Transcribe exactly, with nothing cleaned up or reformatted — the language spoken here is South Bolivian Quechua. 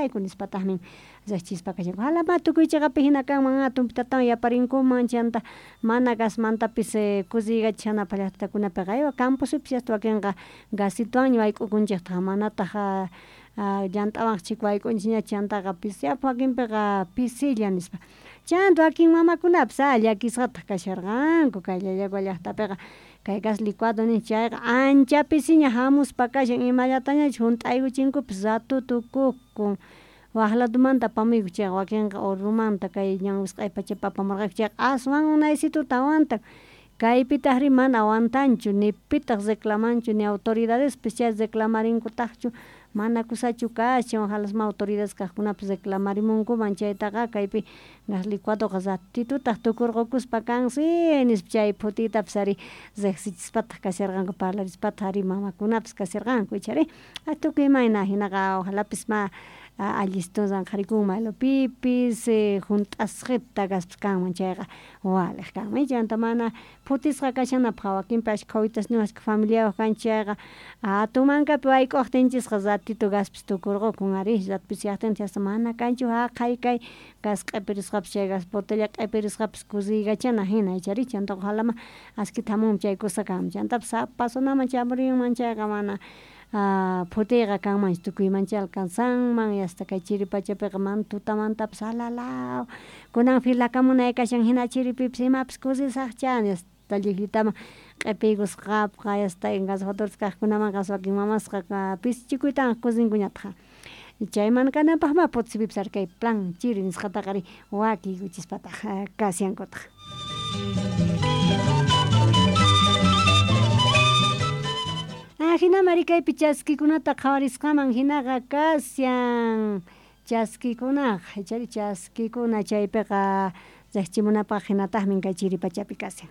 kayku nispatajmin riqchispa kashanku ojalá tukuy chiqapi jina kanman tumpitatawan yaparinkuman chanta mana gasmantapis kusiykachishanapaq llaqtakunapiqa aywa campospipis hasta wakinqa gasituwanña wayk'ukunchiktaj manataq llant'awanqa chhika wayk'unchikñachu chantaqa pisiapun wakinpiqa pisilla nispa chanta wakin mamakunapis a llakisqataq kasharqanku kay Llallagua llaqtapiqa kay gas licuado ninchik chayqa ancha pisiña jamuspa kashan imallatañachus junt'aykuchinkupis rato tukukun waq ladomanta apamuyku chayqa wakinqa Orromanta kay ñan wisq'ay pachapi apamurqayku chayqa aswan unaysituta aguantan kaypitajri mana aguantanchu ni pitaq reclamanchu ni autoridadespis chay reclamarinkutajchu mana kusachu kashan ojalas ma autoridades kajkunapis reclamarimunkuman chaytaqa kaypi gas licuadoqa ratitutaj tukurqokuspa kansi nispa chay phutiytapis ari riqsichispataq kasharqanku parlarispataq ari mamakunapis kasharqanku ichari tukuy imayna jinaqa ojalapis ma allistun ranqharikunman maylapipis junt'asqita gaspis kanman chayqa waliq kanman chanta mana phutisqa kashanapaq wakinpi ashkha wawitasniyuq ashkha familiayuq kanchik chayqa jatun mankapi wayk'uqtinchisqa ratito gaspis tukurqukun ari rato pisiyaqtintaq hasta mana kanchu jaqay kay gas q'ipirisqapis chay gas botella q'ipirisqapis kusiykachana jina ichari chantaqa ojalá ma askita jamunman chay kusa kanman chantapis sapa zonaman chamurinman chayqa mana phutiyqa kanmanchu tukuymanchá alcanzanman y hasta kay chiri pachapiqa mana tutamantapis alalaw kunan filakamunay kashan jina chiripipis imapis kusisaqcha hasta llijllitaman q'ipiykusqapqa hasta engarrafadores kajkunamanqa wakin mamasqa pisichikuytawan kusinkuñataq chay mana kananpaqma Potosipipis ari kay plan chiri nisqataqa ari wakiykuchispataq kashankutaq. Jinamari kaypi chaskikunata qhawarisqaman jinaqa kashan chaskikunaqa ichari chaskikuna chaypiqa riqchimunapaq hinataqmi kay chiri pachapi kashan.